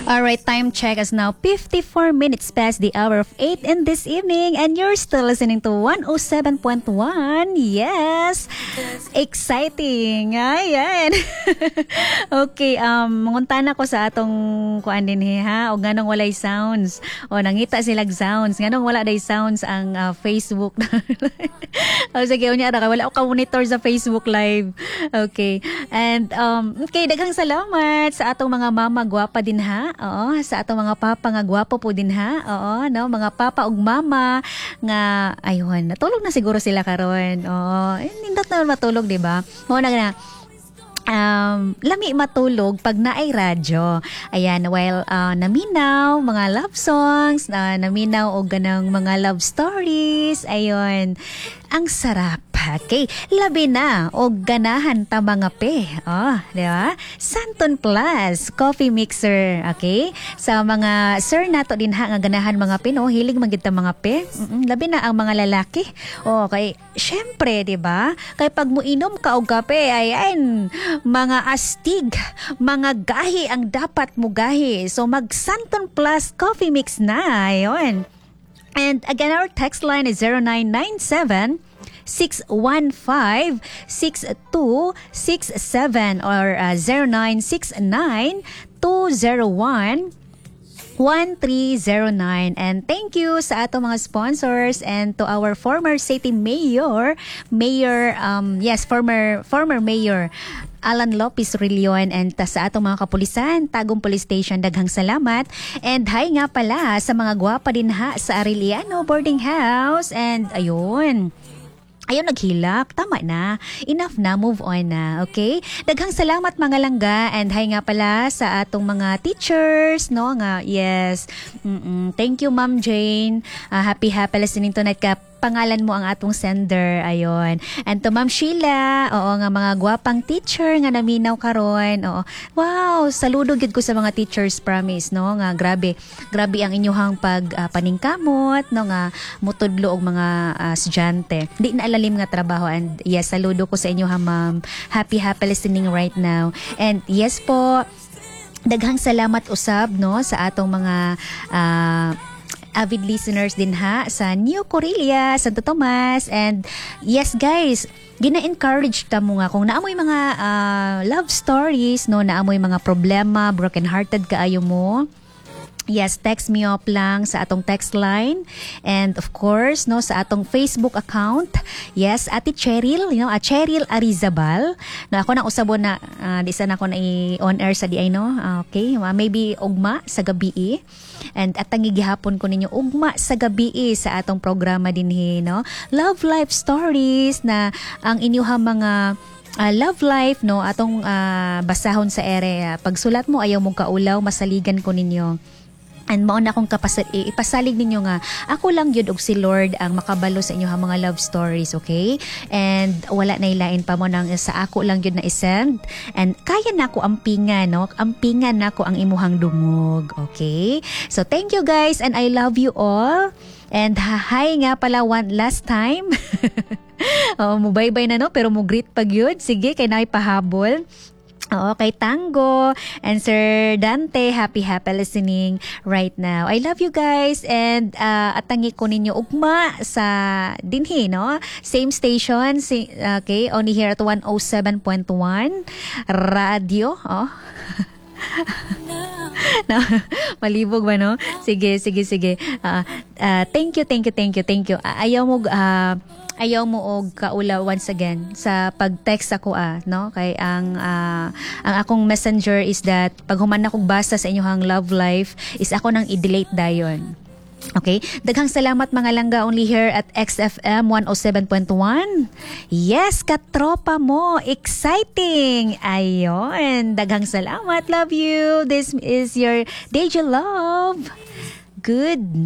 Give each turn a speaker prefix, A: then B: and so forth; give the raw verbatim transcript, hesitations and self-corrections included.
A: All right, time check is now fifty-four minutes past the hour of eight in this evening and you're still listening to one oh seven point one. Yes. Exciting. Ayan. Okay, um mangutana ko sa atong kuan dinhi ha, o nganong walay sounds. O nangita silag sounds. Nganong wala day sounds ang uh, Facebook? O sige, unya ra kay wala ko ka monitor sa Facebook Live. Okay. And um okay, daghang salamat sa atong mga mama gwapa din ha. Oo, sa atong mga papa nga gwapo po din ha. Oo, no, mga papa ug mama nga ayun, natulog na siguro sila karon. Oo, eh, nindot na matulog, di ba? Mao na nga um, lami matulog pag naay radyo. Ayan, while uh, naminaw, mga love songs, uh, naminaw og ganang mga love stories, ayun, ang sarap. Okay, labi na og ganahan ta mangape. Oh, di ba? Santon Plus coffee mixer, okay? Sa mga sir nato din ha nga ganahan mangape, no, hilig man gid ta mangape. Mm-mm, labi na ang mga lalaki. Oh, kay syempre, di ba? Kay pag muinom ka og kape ay ayan, mga astig, mga gahi ang dapat mo gahi. So mag Santon Plus coffee mix na, ayun. And again, our text line is zero nine nine seven six one five, six two six seven or uh, zero nine six nine two zero one one three zero nine. And thank you sa atong mga sponsors and to our former city mayor, Mayor um yes, former former Mayor Alan Lopez Rillion and ta sa atong mga kapulisan, Tagum Police Station, daghang salamat. And hi nga pala sa mga gwapa din ha sa Arellano Boarding House and ayun. Ayaw naghilak. Tama na. Enough na. Move on na. Okay? Daghang salamat, mga langga. And hi nga pala sa atong mga teachers. No? Nga, yes. Mm-mm. Thank you, Ma'am Jane. Ah, happy, happy listening tonight ka, pangalan mo ang atong sender. Ayon. And to Ma'am Sheila, oo nga, mga gwapang teacher nga naminaw karon. Oo. Wow, saludo gyud ko sa mga teachers, promise, no, nga grabe. Grabe ang inyuhang pag ah, paningkamot, no, nga mutudlo og mga ah, estudyante. Di na alalim nga trabaho and yes, saludo ko sa inyo ha, ma'am. Happy, happy listening right now. And yes po, daghang salamat usab, no, sa atong mga ah, avid listeners din ha sa New Corelia, Santo Tomas. And yes guys, gina-encourage ta mo nga kung naamoy mga ah, love stories, no, naamoy mga problema, broken hearted kaayo mo. Yes, text me up lang sa atong text line and of course, no, sa atong Facebook account. Yes, Ate Cheryl, you know, uh, Cheryl Arizabal. No, ako nang usabon na uh, di sana ako na i-on air sa di ay, no. Ah, okay, uh, maybe ugma sa gabi. And atangi gihapon ko ninyo ugma sa gabi sa atong programa dinhi, no. Love Life Stories na ang inyuhang mga uh, love life, no, atong uh, basahon sa ere. Pagsulat mo, ayaw mong kaulaw, masaligan ko ninyo. And mao na akong kapasal ipasalig ninyo nga ako lang gyud og si Lord ang makabalo sa inyo mga love stories, okay? And wala na ilain pa mo nang sa ako lang gyud na isend. And kaya na ako ampinga, no? Ampingan na ako ang imuhang dungog, okay? So thank you guys and I love you all. And hi nga pala one last time. Oh, mo bye-bye na, no, pero mo greet pag yun. Sige, kay naay pahabol. Oo, kay Tango and Sir Dante, happy, happy listening right now. I love you guys and uh, atangi ko ninyo ugma sa dinhi, no? Same station, si, okay, only here at one oh seven point one radio, oh. No, malibog ba, no? Sige, sige, sige. Uh, uh, thank you, thank you, thank you, thank you. Uh, ayaw mo uh, ayaw mo og kaula once again sa pag-text ako ah, no, kay ang uh, ang akong messenger is that pag human akong basa sa inyong love life is ako nang i-delete dayon. Okay? Daghang salamat, mga langga, only here at X F M one oh seven point one. Yes, katropa mo. Exciting. Ayon. Daghang salamat. Love you. This is your D J Love. Good night.